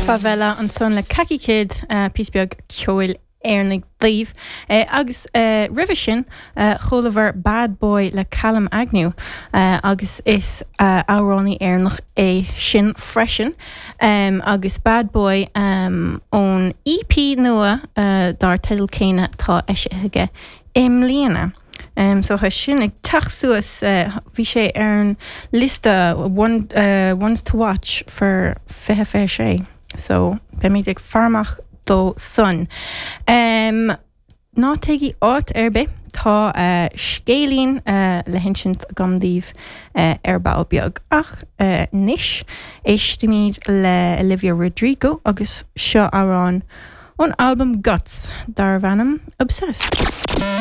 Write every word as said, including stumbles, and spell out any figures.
Favela ansan le Kaki Kid uh, píosa beag ceoil Éireannaigh daoibh uh, agus uh, roimhe sin uh, chualamar Bad Boy le Callum Agnew uh, agus is uh, amhránaí Éireannach é sin freisin um, agus Bad Boy um, ón EP nua uh, dar teideal céanna atá eisithe aige i mbliana. Um, so tá sin ag teacht suas uh, bhí sé ar an liosta one, uh, ones to watch for fiche fiche sé. So beimid ag faire amach dó san. Um, ná téigí áit ar bith tá uh, scéilín uh, le hinsint agam daoibh uh, ar ball beag ach uh, anois éistimid le Olivia Rodrigo agus seo amhrán ón album Guts darb ainm Obsessed.